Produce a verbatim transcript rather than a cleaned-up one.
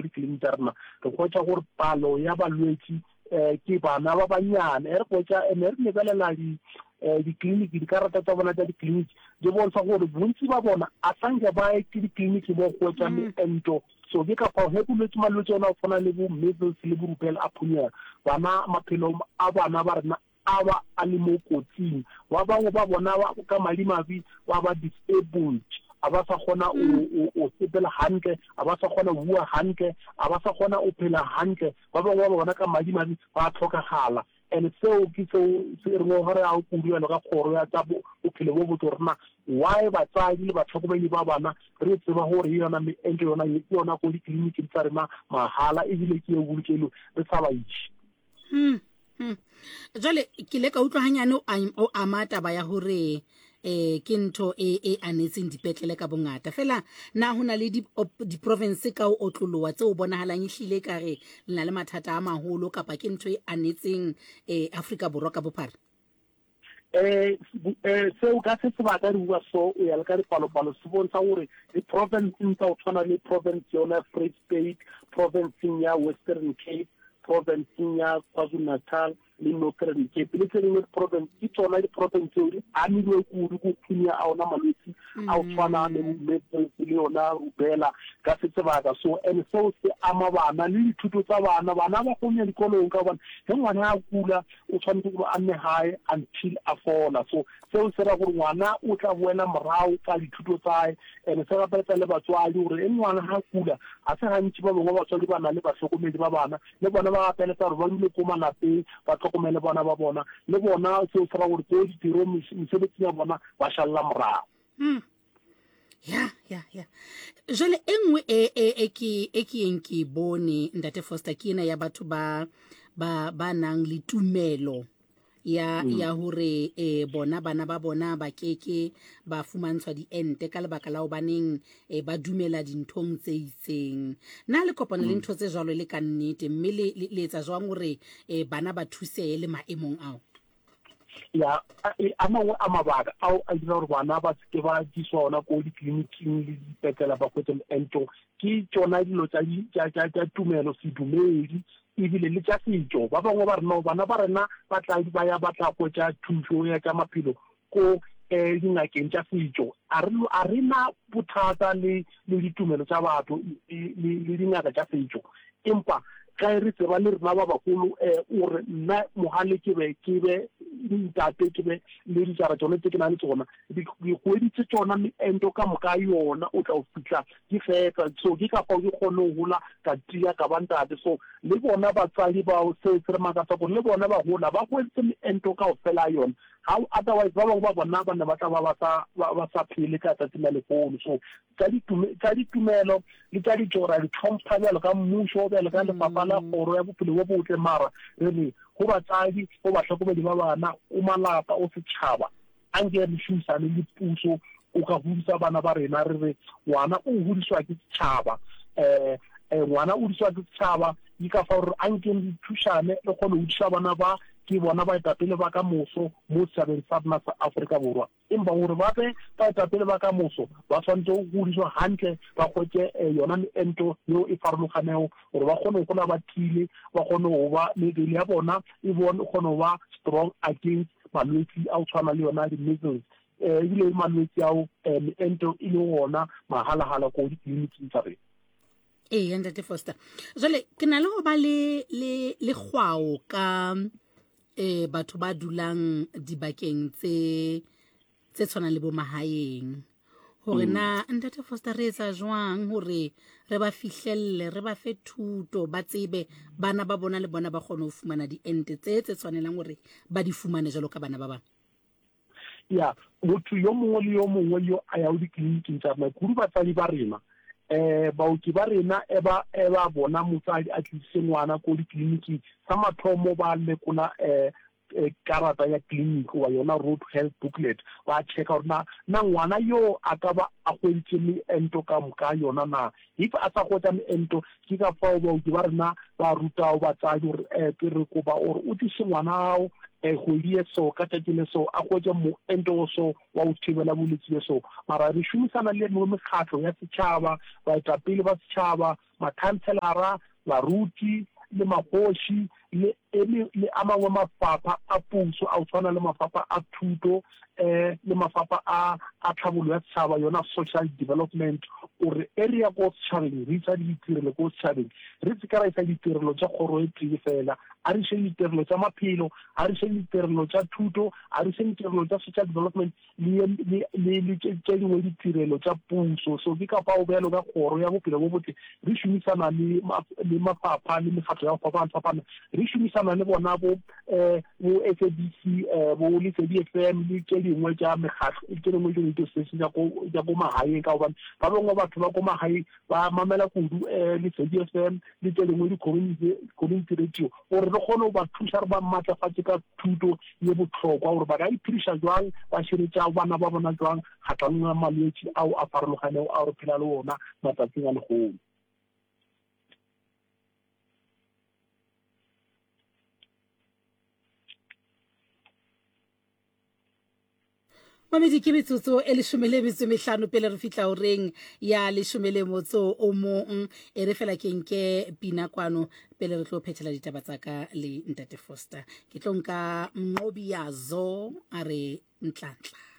ko dikliniki tša rena, re hwetša gore palo ya balwetši um ke bana ba banyane. E re hwetša ene re lebelela di um dikliniki, dikarata tša bona tša dikliniki di bontsha gore bontsi ba bona a sanke ba ye ke dikliniki mo hwetša meento. So ke ka fao ge bolwetši malwetši ona go tshwana le bo measles le bo rubella a phunyega, bana maphelo a bana ba rena a ba a le mo kotsing. Ba bangwe ba bona ka madimabe ba ba disabled, a ba sa kgona o sepela hantle, a ba sa kgona go bua hantle, a ba sa kgona o phela hantle. Ba bangwe ba bona ka madimabe ba tlhokagala. And seo ke seo se re ngongorega kudu bjalo ka kgoro ya tša bophelo bo botse, gore na why batswadi le batlhokomedi ba bana re tseba gore yona meento yona ke yona ko ditleliniking tsa rena mahala, ebile ke e bolokelo re sa ba iše. Hmm, hmm. Jwale ke ile ka utlwa hanyane o ama taba ya hore eh ke ntho e e anetseng dipetlele ka bongata. Fela na ho na le di province ka o otloloha tse o bonahalang ehlile ka re le na le mathata a maholo, kapa ke ntho e anetseng eh Afrika Borwa ka bophara? eh seo ka se sebaka re bua so, o ya le ka dipalopalo se bontsha gore di-provinceng tsa go tshwana le province yona Free State, provinceng ya Western Cape, provinceng ya KwaZulu Natal le Northern Cape le tse dingwe di-province, ke tsona di-province tseo di amilwe kudu ko phunya a ona malwetsi a go tshwana le measles le yona rubella ka se sebaka. So and seo se ama bana le dithuto tsa bana. Bana ba kgone ya dikolong ka gobane ge ngwana a kula o tshwanetse gore a nne gae until a fola. So seo se ra gore ngwana o tla boela morago ka dithuto tsae, and se gapeletsa le batswadi gore e ngwana ga kula ga se gantši ba bangwe batswadi ba na le bahlokomedi ba bana, le bona ba gapeletsa gore ba dule ko malapeng ba tlhokomele bona ba bona. Le bona seo se ra gore ko ditirong, mesebetsing ya bona ba šalla morago. Hmm. ya ya ya jwale e nngwe e e e ke e ke eng ke bone, ntate Foster, ke ena ya batho ba ba ba nang le tumelo ya mm. ya hore eh bona bana ba bona ba keke ba fumantshwa diente ka lebaka la hobaneng eh, ba dumela dinthong tse itseng. Na le kopana le ntho tse jwalo le ka nnete, mme le le etsa jwang hore eh, bana ba thusehe le maemong ao? Ya, a mangwe a mabaka ao a dira gore bana ba seke ba diswa ona ko ditleliniking le dipetlela ba hwetše meento ke tšona dilo tša tumelo, sedumedi ebile le tša setšo. Ba bangwe ba rena, bana ba rena ba tla ba ya ba tla hwetša thušo ya tša maphelo ko um dingakeng tša setšo. A re na bothata le le ditumelo tša batho le dingaka tša setšo, empa ka re tseba le rena ba bagolo um o re nna mogale ke be ke be ntate, ke be le dijara tsone tse ke na le tsona, dikgwedi tse tsona meento ka moka yona o tla o fihla ke fetsa. So ke ka fao ke kgone go gola ka tia ka ba ntate. So le bona batswadi bao seo se re makatsa gore le bona ba gola ba hweditse meento kao fela yona ga, otherwise ba bangwe ba bona ba ne ba tla ba ba sa ba sa phele ka tsatsi la lehono. So tša ditumelo le tša ditšo ra di tlhompha bjalo ka mmušo, bjalo ka lefapha la kgoro ya bophelo bo botle, mara re re go batsadi, go bahlokomedi ba bana, o malapa, o setšhaba, a nke re šomisane le puso o ka godisa bana ba rena. Re re ngwana o godiswa ke setšhaba, um ngwana o godiswa ke setšhaba. Ke ka fa gore a nkeng re thušane re kgone go godisa bana ba, ke bona baetapele ba ka moso mo setšhabeng sa rena sa Afrika Borwa. Empa gore ba be baetapele ba ka moso ba tshwanetse go godiswa hantle, ba hwetše yona meento yeo e farologanego gore ba kgone go gola ba tiile, ba kgone go ba mebele ya bona e bone kgone go ba strong against malwetsi a go tshwana le yona di-measles, um ebile malwetsi ao meento e le gona mahala-hala ko ditleliniking tsa rena. Ee, ntate Foster, jwale ke na le go ba le le le kgwao ka eh batho ba dulang dibakeng tse tse tshwanang le bo mahaeng, hore na ntate Foster re etsa jwang hore re ba fihlelle, re ba fe thuto, ba tsebe bana ba bona le bona ba kgone ho fumana diente tse tse tshwanelang hore ba di fumane jwalo ka bana ba bang? Ya, motho yo mongwe le yo mongwe yo a yago ditleliniking tsa rena, kudu batsadi ba rena, um baoki ba rena e ba e ba bona motsadi a tlisitse ngwana ko ditleliniking, sa mathomo ba lekola um karata ya clinic wa yona road health booklet, ba checka gore na na ngwana yo a ka ba a hweditše meento ka moka yona na. If a sa hwetša meento, ke ka fao baoki ba rena ba rutago batsadi gore um ke re kopa gore o tliše ngwana ao Kgwedi ye so, ka tšatši le so, a hwetše moento o so wa go thibela bolwetši bjo so. Mara re šomisana le mengwe mekgatlo ya setšhaba, baetapele ba setšhaba, makhanselara, baruti le magoši le le a mangwe mafapha a puso a go tshwana le mafapha a thuto um le mafapha a a tlhabollo ya setšhaba, yona social development, gore e re ya ko setšhabeng re isa ditirelo ko setšhabeng, re se ka ra isa ditirelo tša kgoro e tee fela. A re išeng ditirelo tša maphelo, a re išeng ditirelo tša thuto, a re išeng ditirelo tša social development le le le le tše tše dingwe ditirelo tša puso. So ke ka fao bjalo ka kgoro ya bophelo bo botle re šomisana le le mafapha le mekgatlo ya go fapana-fapana, re šomisana le bona bo um bo S A B C, um bo Lesedi F M le tše dingwe tša mekgatlo, tše dingwe di-radio station tša ko tša ko magaeng, ka gobane ba bangwe batho ba ko magaeng ba mamela kudu um Lesedi F M le tše dingwe di-community community radio, gore re kgone go ba thuša, re ba matlafatše ka thuto ye bohlokwa gore ba ka iphediša jwang, ba širetša bana ba bona jwang kgahlanong ya malwetši ao a farologanego ao re phela le ona matsatsing a lehono. Mamedi, ke metsotso e leshome le metso e mehlano pele re fihla horeng ya leshome le motso o mong. E re fela ke nke pina kwano pele re tlo phethela ditaba tsa ka le Ntate Foster. Ke tlo nka Mnqobi Yazo a re Ntlantla.